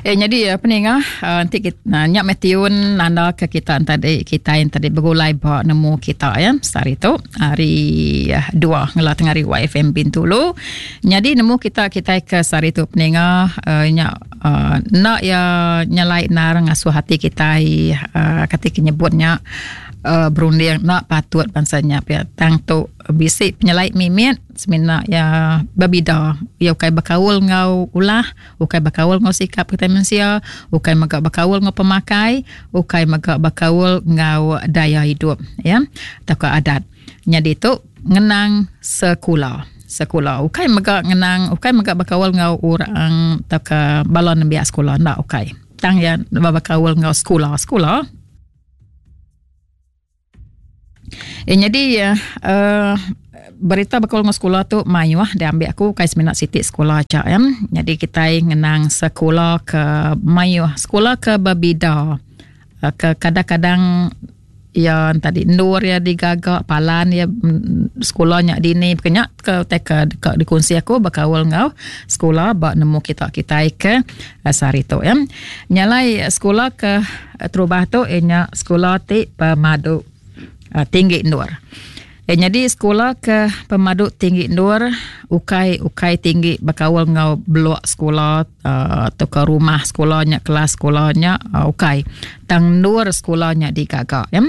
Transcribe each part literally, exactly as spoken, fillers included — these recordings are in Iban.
Eh jadi peninga enti kita nya meh tiun nanda ke kita tadi kita yang tadi begulai ba nemu kita ya sehari tu hari dua ngela tengah hari Y F M Bintulu. Jadi nemu kita kita ke sehari tu peninga uh, nya uh, nak ya nyelai nar ngasuh hati kita uh, kati nyebutnya uh, berunding nak patut bangsanya pia tang tu bisi penyelai mimit semina ya berbida ya ukai bakaul ngau ulah ukai bakaul ngau sikap kita manusia ukai mega bakaul ngau pemakai ukai mega bakaul ngau daya hidup ya atau adat. Jadi tu ngenang sekula sekula ukai mega ngenang ukai mega bakaul ngau orang atau ke bala nembiak sekolah ndak ukai tang ya bakaul ngau sekolah sekolah. Eh, jadi uh, berita bakal ngau sekolah tu mayuh diambil aku kai seminat sitik sekolah aja ya. Jadi kita ngenang sekolah ke mayuh sekolah ke berbeda ke kadang-kadang ya tadi nur ya digagak palan ya sekolahnya dini kenyak ke teka ke dikongsi aku bakal ngau sekolah bak nemu kita kita ke sehari tu ya. Nyalai sekolah ke terubah tu ianya sekolah ti pemadu tinggi nur. Eh, jadi sekolah ke pemadu tinggi nur ukai ukai tinggi bakawal ngau blok sekolah uh, atau ke rumah sekolahnya kelas sekolahnya uh, ukai tang nur sekolahnya digagak ya.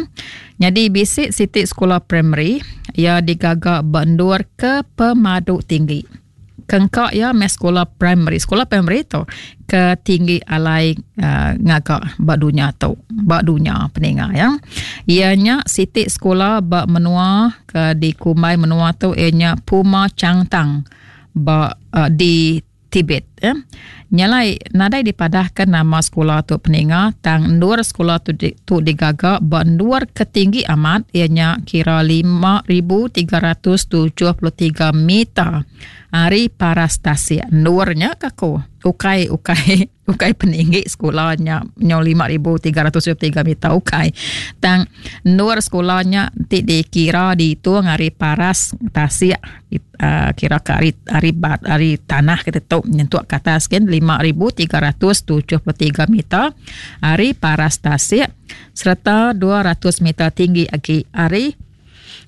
Jadi bisik sitik sekolah primary ia digagak bendur ke pemadu tinggi. Kengkak ya mes sekolah primary sekolah primary tu ke tinggi alai uh, ngagak bak dunia tu bak dunia peninga ya. Ianya sitik sekolah bak menua ke di Kumbai menua tu ianya Puma Changtang bak uh, di Tibet ya. Nyalai nadai dipadahkan nama sekolah tu peninga tang nur sekolah tu di, tu digagak bak nur ketinggi amat ianya kira lima ribu tiga ratus tujuh puluh tiga meter ari parastasi nurnya kaku ukai ukai ukai peninggi sekolahnya nyo lima ribu tiga ratus tujuh puluh tiga meter ukai tang nur sekolahnya ti dikira dihitung ari paras tasik uh, kira ke ari ari bat ari tanah kita tu nyentuk ke atas kan lima ribu tiga ratus tujuh puluh tiga meter ari paras tasik serta dua ratus meter tinggi agi ari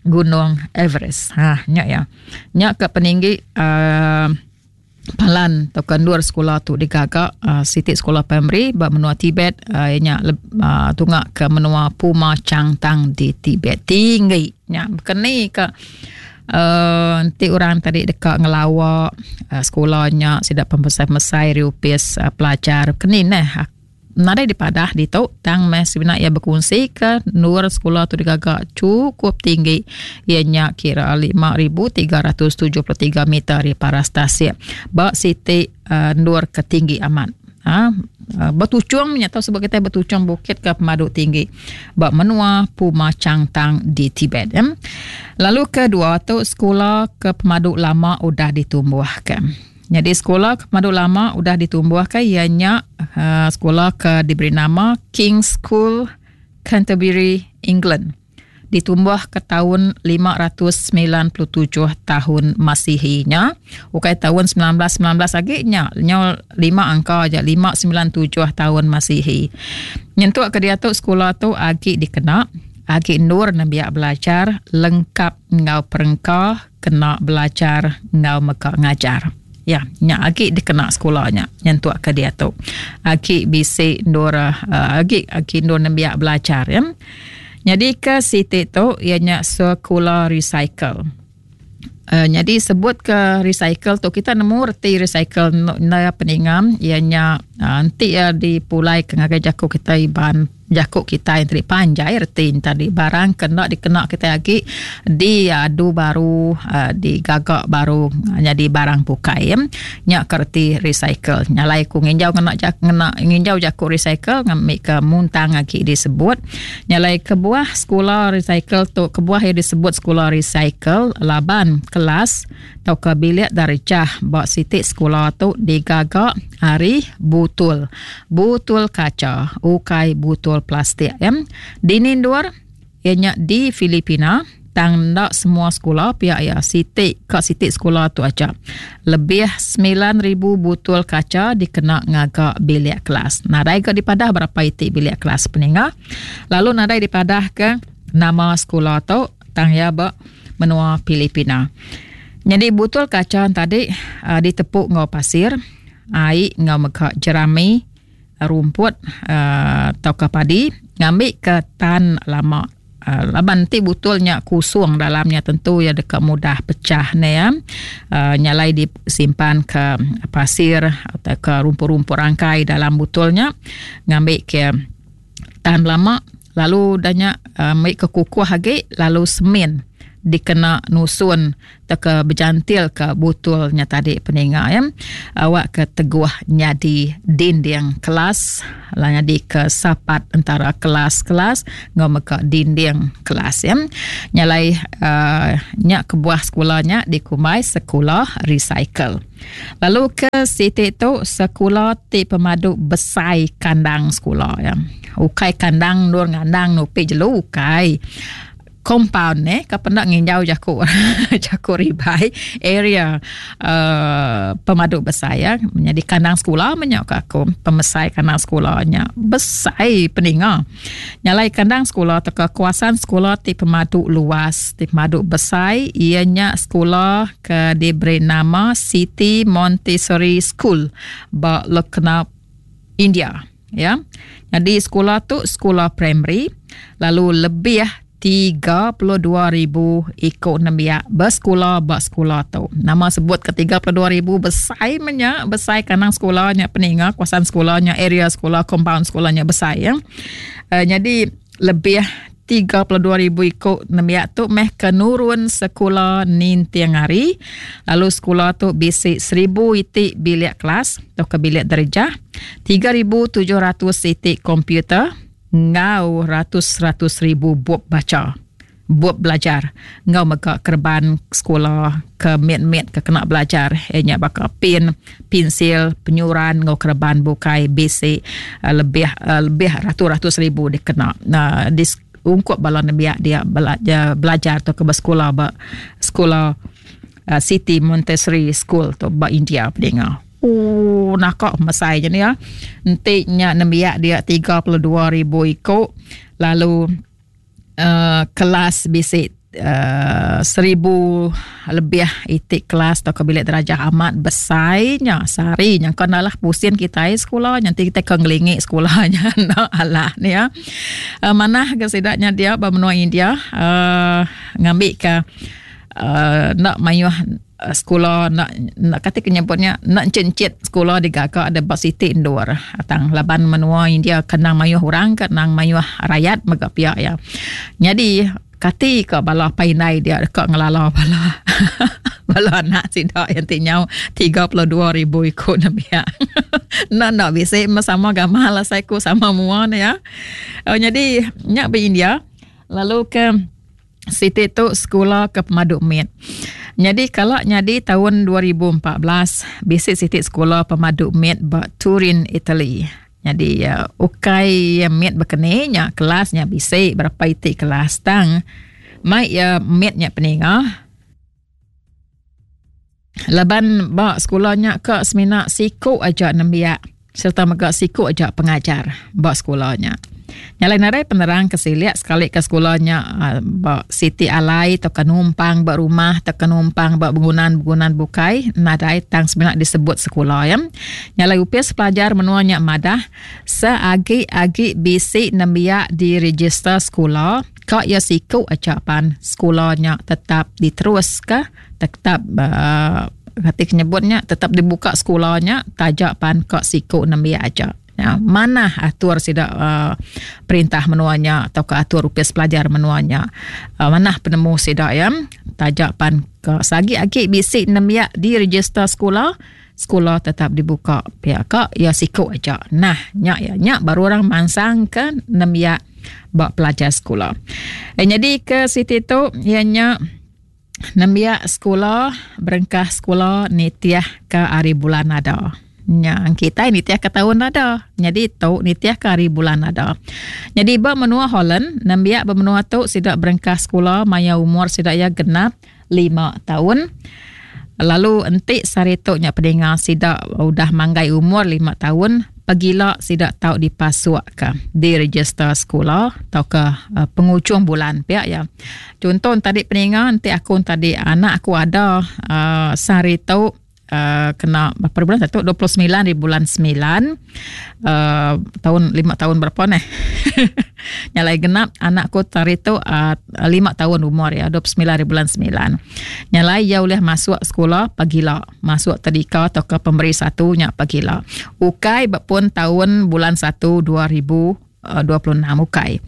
Gunung Everest. Ha, nyak ya. Nyak ke peninggi uh, palan atau kendur sekolah tu digagak uh, sitik sekolah primary ba menua Tibet uh, nyak uh, tungak ke menua Puma Changtang di Tibet. Tinggi nyak keni ke Uh, nanti orang tadi dekat ngelawak uh, sekolahnya sidak pembesai-besai riupis uh, pelajar keni neh nadai dipadah di tu tang meh sebenar ia berkongsi ke nur sekolah tu digagak cukup tinggi ianya kira lima ribu tiga ratus tujuh puluh tiga meter di paras tasik bak siti uh, nur ketinggi amat ha bertucung atau sebab kita bertucung bukit ke pemadu tinggi bak menua Puma Changtang di Tibet ya. Lalu kedua tu sekolah ke pemadu lama udah ditumbuhkan. Jadi sekolah ke pemadu lama udah ditumbuhkan ianya uh, sekolah ke diberi nama King's School Canterbury England. Ditumbuh ke tahun lima ratus sembilan puluh tujuh tahun Masihinya. Ukai tahun sembilan belas sembilan belas lagi nya nyo lima angka aja lima sembilan tujuh tahun Masihi. Nyentuk ke dia tu sekolah tu agi dikena agi nur nembiak belajar lengkap ngau perengka kena belajar ngau meka ngajar. Ya, nya agi dikena sekolahnya nyentuk ke dia tu. Agi bisi nur uh, agi agi nur nembiak belajar ya. Jadi ke sitik tu ianya sekolah recycle. Uh, jadi sebut ke recycle tu kita nemu reti recycle na peningam ianya uh, nanti ya dipulai ke ngagai jaku kita iban jaku kita yang tadi panjai reti tadi barang kena dikena kita lagi diadu baru uh, digagak baru uh, jadi barang bukai ya. Nya kerti recycle nyalai ku nginjau kena jak kena nginjau jaku recycle ngambil ke muntang lagi disebut nyalai kebuah sekolah recycle tu kebuah yang disebut sekolah recycle laban kelas atau ke bilik darjah bak sitik sekolah tu digagak hari butul butul kaca ukai butul plastik ya. Di Nindur ianya di Filipina Tang enda semua sekula pia iya siti ka siti sekula tu aja. Lebih semilan ribu butul kaca dikena ngaga bilik kelas. Nadai ga dipadah berapa iti bilik kelas peninga. Lalu nadai dipadah ke nama sekula tu tang iya ba menua Filipina. Nyadi butul kaca tadi uh, ditepuk enggau pasir, ai enggau mega jerami, rumput uh, tauka padi ngambi ke tan lama. Uh, laban ti butulnya kusung dalamnya tentu ya deka mudah pecah ne ya. Uh, nyalai disimpan ke pasir atau ke rumput-rumput rangkai dalam butulnya ngambi ke tahan lama, lalu danya uh, ambil ke kukuh lagi, lalu semen dikena nusun teka berjantil ke butulnya tadi peninga ya. Awak ke teguh nyadi dinding kelas, lah nyadi ke sapat antara kelas-kelas ngau meka dinding kelas ya. Nyalai uh, nyak kebuah sekolahnya dikumbai sekolah recycle. Lalu ke siti tu sekolah ti pemadu besai kandang sekolah ya. Ukai kandang nur ngandang nupi jelu ukai. Compound eh ka pendak nginjau jaku jaku ribai area uh, pemadu besar ya. Menjadi kandang sekolah menyak ka aku pemesai kandang sekolahnya besai peninga. Nyalai kandang sekolah atau kawasan sekolah ti pemadu luas ti pemadu besar ianya sekolah ke diberi nama City Montessori School ba Lucknow, India ya. Jadi sekolah tu sekolah primary lalu lebih tiga puluh dua ribu ikut nembiak bersekolah ba sekolah tu. Nama sebut ke tiga puluh dua ribu besai menyak, besai kandang sekolahnya peninga, kawasan sekolahnya, area sekolah, compound sekolahnya besai ya. Uh, jadi lebih tiga puluh dua ribu ikut nembiak tu meh ke nurun sekolah nintiang hari. Lalu sekolah tu bisi seribu itik bilik kelas atau ke bilik darjah, tiga ribu tujuh ratus itik komputer, ngau ratus-ratus ribu bup baca, bup belajar, ngau mega kerban sekolah ke mit-mit ke kena belajar, ianya baka pin, pensil, penyuran, ngau kerban bukai bisi uh, lebih uh, lebih ratus-ratus ribu dikena uh, di ungkup bala nembiak dia belajar, belajar atau ke bersekolah ba sekolah uh, City Montessori School tu ba India pedengar. Oh, nakak mesai je ni ya. Enti nya nembiak dia tiga puluh dua ribu ikut, lalu uh, kelas bisi uh, seribu lebih itik kelas atau ke bilik darjah amat besainya sehari nya kan lah pusing kita sekolah nanti kita ke ngelingi sekolahnya nak alah ni ya. Uh, manah ke sidaknya dia ba menua India uh, ngambil ke uh, nak mayuh sekolah nak nak kata kenyebutnya nak cencit sekolah digagak ada bak siti indoor atang laban menua India kenang mayuh orang kenang mayuh rakyat mega pihak ya. Jadi kati ke bala painai dia dekat ngelala bala bala anak sidak yang tinyau tiga puluh dua ribu ikut nembiak. Nak nak bisa sama gamal lah saya ku sama mua ni ya. Oh, jadi nyak be India lalu ke siti tu sekolah ke pemadu mit. Jadi kalau nyadi tahun dua ribu empat belas bisi siti sekolah pemadu mit ba Turin, Italy. Jadi uh, ukai mit berkene nya kelasnya bisi berapa itik kelas tang mai ya mitnya peninga. Laban ba sekolahnya ke semina siku aja nembiak serta mega siku aja pengajar ba sekolahnya. Nyalai narai penerang ke siliak sekali ke sekolahnya ba siti alai atau ke numpang ba rumah atau ke numpang ba bangunan-bangunan bukai nadai tang semina disebut sekolah ya. Nyalai upis pelajar menuanya madah seagi-agi bisi nembiak di register sekolah kak ya siku aja pan sekolahnya tetap diterus ke tetap uh, hati kenyebutnya tetap dibuka sekolahnya tajak pan kak siku nembiak aja. Ya, mana atur sidak uh, perintah menuanya atau ke atur upis pelajar menuanya uh, mana penemu sidak ya tajak pan ke sagi-agi bisik nembiak di register sekolah sekolah tetap dibuka pihak kak ya siku aja. Nah nyak ya nyak baru orang mansang ke nembiak bak pelajar sekolah. Eh, jadi ke siti tu ianya nembiak sekolah berengkah sekolah nitiah ke hari bulan ada. Nya kitai nitih ke taun ada. Nyadi tu nitih ke hari bulan ada. Nyadi ba menua Holland, nembiak ba menua tu sida berengkah sekula maya umur sida iya genap lima taun. Lalu enti sehari tu nya peninga sida udah manggai umur lima taun, pagila sida tau dipasuk ke diregister sekula tauka uh, pengujung bulan pia ya. Contoh tadi peninga, enti aku tadi anak aku ada uh, sehari tu uh, kena berapa bulan satu dua puluh sembilan di bulan sembilan uh, tahun lima tahun berapa nih nyalai genap anakku hari tu uh, lima tahun umur ya dua puluh sembilan di bulan sembilan nyalai ia boleh masuk sekolah pagila masuk tadika atau ke pemberi satu nya pagila ukai pun tahun bulan satu dua ribu dua puluh enam ukai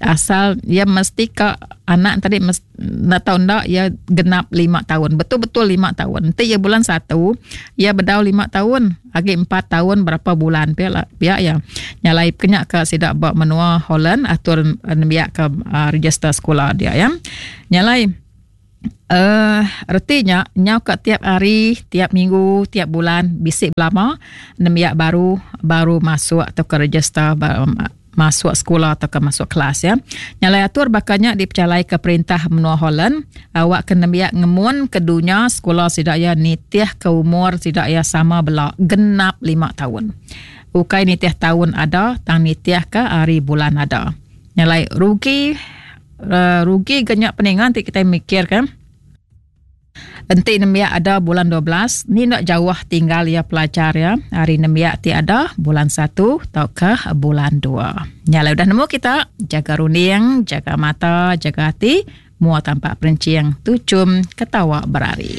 asal ia mesti ke anak tadi mes, nak tahu ndak ia genap lima tahun betul-betul lima tahun nanti ia bulan satu ia bedau lima tahun lagi empat tahun berapa bulan pihak pihak ya nyalai kenyak ke sidak ba menua Holland atur nembiak ke uh, register sekolah dia ya nyalai Uh, retinya nyau ke tiap hari, tiap minggu, tiap bulan bisik belama nembiak baru baru masuk atau ke register masuk sekolah atau ke masuk kelas ya. Nyalai atur bakanya dipercalai ke perintah menua Holland awak ke nembiak ngemun ke dunia sekolah sidak ya nitih ke umur sidak ya sama bela genap lima tahun. Ukai nitih tahun ada, tang nitih ke hari bulan ada. Nyalai rugi uh, rugi genyak peningan ti kita mikir kan. Enti nembiak ada bulan dua belas, ni nak jauh tinggal ya pelajar ya. Hari nembiak ti ada bulan satu atau ke bulan dua. Nyala udah nemu kita, jaga runding, jaga mata, jaga hati, mua tampak perencing, tucum, ketawa berari.